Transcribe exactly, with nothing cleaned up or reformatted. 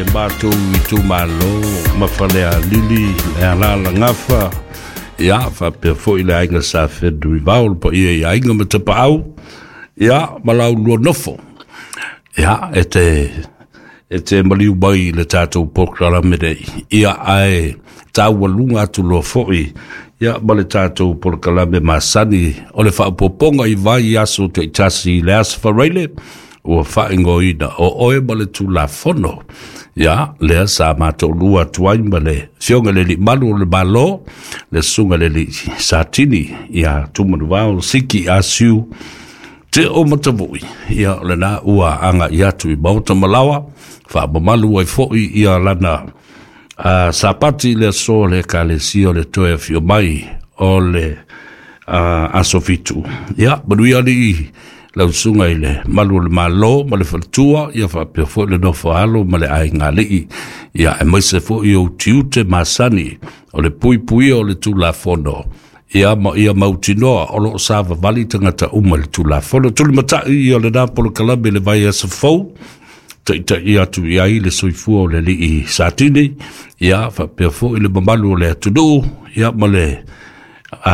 le matou itumalo ma Falealili, le Alalagafa, ia faapea foi le aiga Sa Fenunuivao, le paia i aiga ma tapaau, ia ma laulua nofo. Ia, e te e te maliu mai i le tatou polokalame nei, ia ae taualuga atu loa foi ia ma le tatou polokalame masani o le faaopoopoga i vaiaso taitasi i le Aso Faraile ua faaigoaina o Oe ma le Tulafono. Ia, lea sa matoalua atu ai ma le Afioga i le Alii Malu o le Malo, le Susuga i le Alii Satini ia Tumanuvao Siki Asiu Te o Matavui. Ia, o lena ua agai atu i maota ma laoa, faamamalu ai foi ia lana uh, sapati i le aso o le Ekalesia o le toe afio mai o le uh, aso fitu. Ia, manuia alii lau susuga i le malu o le Malo ma le faletua, ia faapea foi le nofo alo ma le aiga alii, ia aemaise foi o tiute masani o le puipuia o le Tulafono, ia ma ia mautinoa o loo savavali tagata uma i le Tulafono. Tulimatai ia lena polokalame i le vaiaso fou, taitai atu i ai le soifua o le Alii Satini, ia faapea foi le mamalu o le atunuu, ia ma le